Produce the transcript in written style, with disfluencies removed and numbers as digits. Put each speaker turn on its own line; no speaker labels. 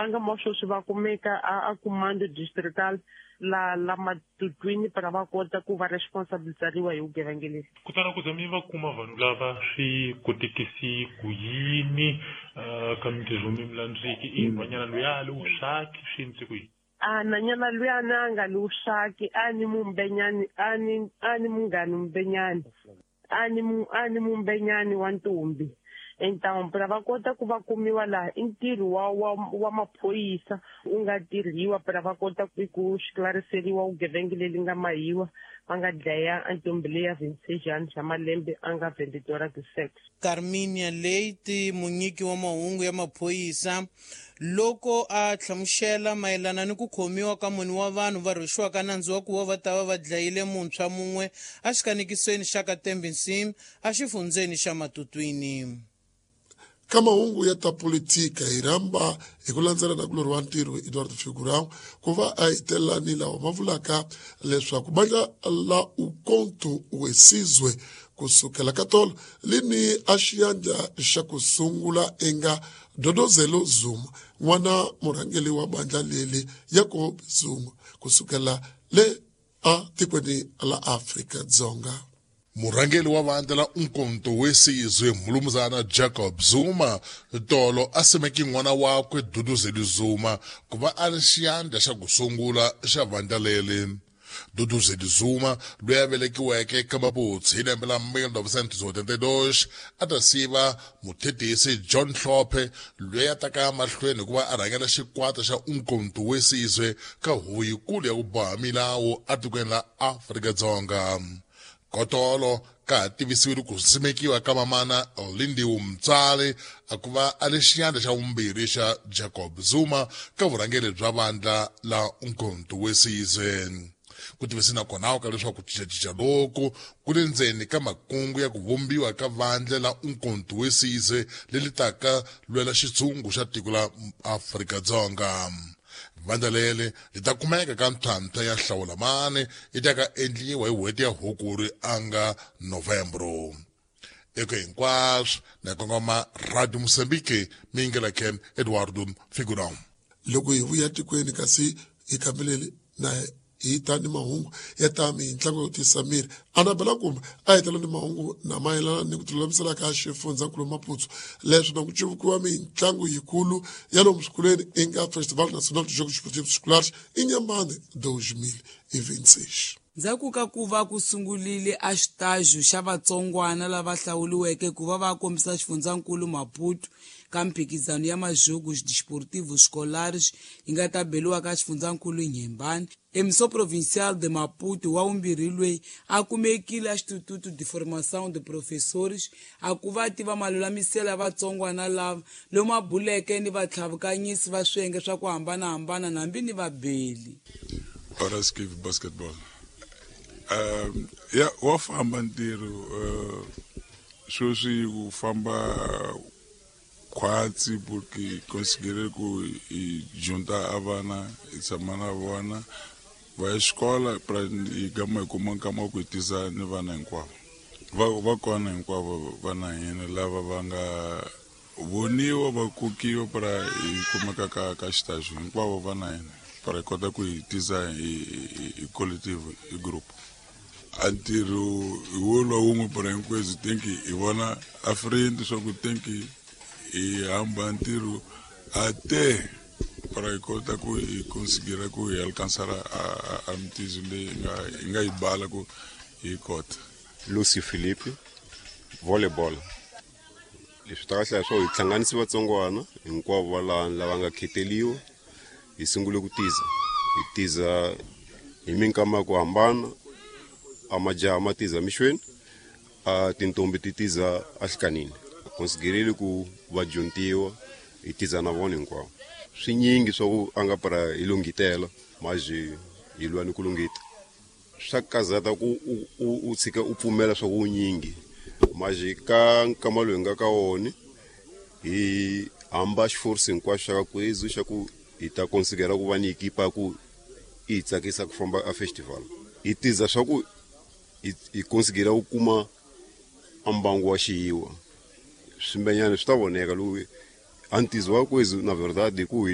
Ka nkama wa sweswi va kumeka a comando distrital la la Matutwini para va kota ku va responsabilizariwa hi vugevenga lebyi.
Kutani ku za mi va kuma vanhu lava swi kotekisi ku yini ka mintirho mi mi landziki i nhwanyana luya a li wusaki swi endlise ku yini?
A nhwanyana luyani a nga li wusaki a ni mumbenyani a ni a ni munghani mumbenyani a ni a ni mumbenyani wa ntombi. Então para va kota ku va kumiwa laha i ntirho wa wa wa maphorisa wu nga tirhiwa para va kota ku xiklariseriwa vugevenga leli nga mahiwa va nga dlaya a ntombi leya 26 anos ya malembe a nga vendedora de sexo.
Carminia Leite, munyiki wa mahungu ya maphorisa, loko a hlamuxela mayelana ni ku khomiwa ka mune wa vanhu va rhwexiwaka nandzu wa ku va va ta va va dlayile muntshwa mun'we exikanekisweni xa ka Tembinsim exifundzeni xa Matutwini.
Ka mahungu ya ta politika hi rhamba hi ku landzela nakulorhi wa ntirho Eduardo Figurão ku va a hetelela ni lawa ma vulaka leswaku bandla la Umkhonto we Sizwe ku sukela ka tolo li ni a xiyandla xa ku sungula enga Dodozelo Zuma n'wana murhangeli wa bandla leli Jacob Zuma ku sukela le a tikweni la Afrika Dzonga.
Murhangeri wa vandla la Umkhonto we Sizwe Mnumzana Jacob Zuma tolo a simeke n'wana wakwe Duduzeli Zuma ku va a ri xiyandla xa ku sungula xa vandla leri. Duduzeli Zuma loyi a velekiweke ka Maputsi hi lembe la 1982 a ta siva muthetisi John Hlophe loyi a taka mahlweni hikuva a rhangela xikwata xa Umkhonto we Sizwe ka huvo yikulu ya ku boha milawu atikweni la Afrika-Dzonga. Kotolo ka ha tivisiwile ku simekiwa ka mamana Lindiwe Mtswari a ku va a ri xiyandla xa vumbirhi xa Jacob Zuma ka vurhangeri bya vandla la Umkhonto we Sizwe. Ku tivise na kona ka leswaku ku cincacinca loku ku le ndzeni ka makungu ya ku vumbiwa ka vandla la Umkhonto we Sizwe leri taka lwela xitshungu xa tiko la Afrika-Dzonga. Vandla leri li ta kumeka ka ntlhantlha ya hlawulamani yi ta ka endliwa hi n'hweti ya Hukuri a nga Novembro. Eka hinkwaswo na kongoma Radio Mozambique mi yingela Ken Eduardo Figurão.
Loko hi vuya tikweni kasi hi kambelele na hi ta ni mahungu ya ta mintlangu yo tisa miri anabela kumbe a hetela ni mahungu na mayelana ni ku tilulamisela ka xifundzankulu Maputo leswi na ku civukiwa mintlangu yikulu ya lomu swikolweni i nga Festival Nacional de Jogos Esportivos Escolares Inhambane 2026.
Ndzhaku ka ku va ku sungulile a xitajo xa vatsongwana lava hlawuliweke ku va va kombisa xifundzankulu Maputo ka mphikizano ya Majogos Desportivos Escolares yi nga ta beliwa ka xifundzankulu Inhambane, Emissão Provincial de Maputo wa vumbirhi loyi a kumekile a Instituto de Formação de Professores a ku va tiva malulamiselo ya vatsongwana lava lomu a buleke ni vatlhavukanyisi va swiyenge swa ku hambanahambana nambi ni vabeli.
Horace Cave basketball. Ya wa famba ntirho sweswi wu famba khwatsi porque considerei ku hi junta a vana hi tshama na vona va ya xikola pra hi gama hi kuma nkama wa ku hi tisa ni vana hinkwavo va va kona hinkwavo vana hina lava va nga voniwa va kokiwa pra hi kumeka ka ka xitaxo hinkwavo vana hina pra hi kota ku hi tisa hi hi collective hi group. A ntirho hi wo lwa wun'we pra hinkwenu think hi vona a friend swa ku think hi hamba ntirho a te para hi kota ku hi considera ku hi alcançar a mitizo leyi hi nga yi bala ku hi kota.
Lucy Philippe, volleyball. Leswi ta kahle swo hi hlanganisi vatsongwana hinkwavo va laha lava nga kheteliwa hi sungule ku tiza hi tiza hi minkama ya ku hambana a majaha ma tiza mixweni a tintombi ti tiza ahlikanini konsidereli ku va dyontiwa hi tiza na vona hinkwavo swinyingi swa ku a nga para hi lunghitela maji hi lwa ni ku lunghita swa kazata ku u tshika u pfumela swa ku nyingi maji ka nkama lowu hi nga ka wona hi hamba xiforce hinkwaxo xa ka kwezu xa ku hi ta konsidera ku va ni ekipa ku i hi tsakisa ku famba a festival hi tiza swa ku hi konsidera ku kuma a mbangu wa xiyiwa swimbenyana swi ta voneka lowu a ntizo wa kwezu na verdade ku hi